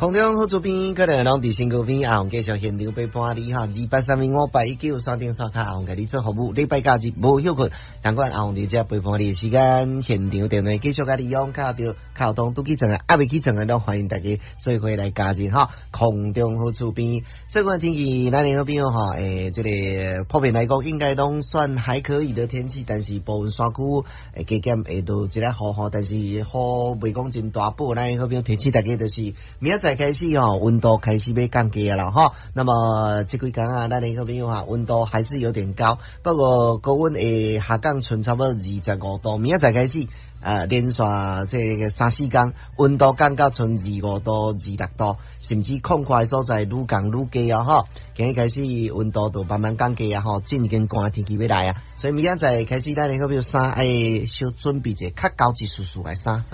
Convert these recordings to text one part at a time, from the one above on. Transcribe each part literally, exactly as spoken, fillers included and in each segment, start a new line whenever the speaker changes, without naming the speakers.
空中好主編可能攏佇身軀邊，阿紅繼續現場陪伴你哈，二八三零五八一九山頂刷卡，阿紅共你做服務，禮拜假日無休睏，同款阿紅佇遮陪伴你的時間，現場電話繼續共你用，敲著敲通拄起床的，猶未起床的，攏歡迎大家做伙來加入哈。空中好厝邊，最近天氣咱的好朋友吼，欸，這个普遍來講應該攏算還可以的天氣，但是部分山區會加減會落一下雨吼，但是雨袂講真大，不過咱的好朋友提醒大家就是明仔載開始吼，溫度開始欲降低啦吼。那麼這幾工啊，咱的好朋友哈，溫度還是有點高，不過高溫會下降賰差不多二十五度。明仔載開始，呃，連續這个三四工，溫度降到賰二五度、二六度，甚至曠闊的所在愈降愈低哦吼。今日開始溫度就慢慢降低啊吼，進更寒天氣欲來啊，所以明仔載開始，咱的好朋友衫愛小準備一下較厚一絲絲的衫。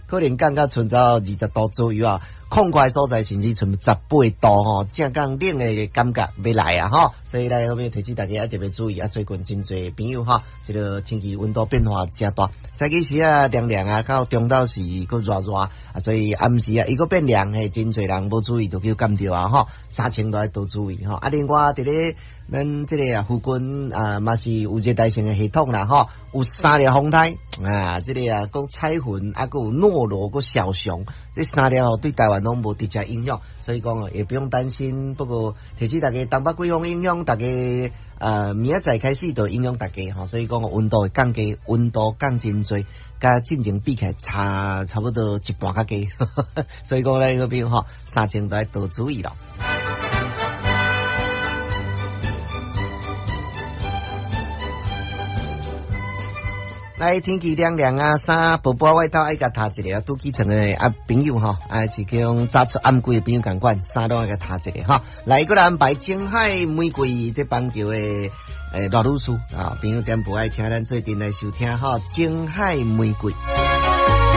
可能降到賰到二十度左右啊，曠闊所在甚至賰十八度吼，正降冷的感覺欲來啊吼，所以來後面提醒大家要特別注意啊，最近真濟朋友吼，這个天氣溫度變化誠大，早起時啊涼涼啊，到中晝時閣熱熱啊，所以暗時啊伊閣變涼，嘿，真濟人無注意就去感著啊吼，衫穿都愛多注意吼。啊，另外佇咧咱這个啊附近啊嘛是有熱帶性的系統啦吼，有三粒風颱啊，這个啊閣彩雲啊，閣有諾羅閣小熊，這三粒吼對台灣攏無直接影響，所以講也不用擔心。不過提醒大家，東北季風影響大家，呃，明仔載開始就影響大家吼，所以講溫度會降低，溫度降真濟，佮進前比起來差差不多一半較低，所以講咱嗰邊吼，衫穿都愛多注意咯。來天氣涼涼啊，衫薄薄外套愛共疊一下，拄起床的啊朋友吼，啊是講早出暗歸的朋友仝款，衫攏愛共疊一下吼。來，閣來安排青海玫瑰這板橋的欸賴女士啊，朋友點播愛聽，咱做陣來收聽吼，青海玫瑰。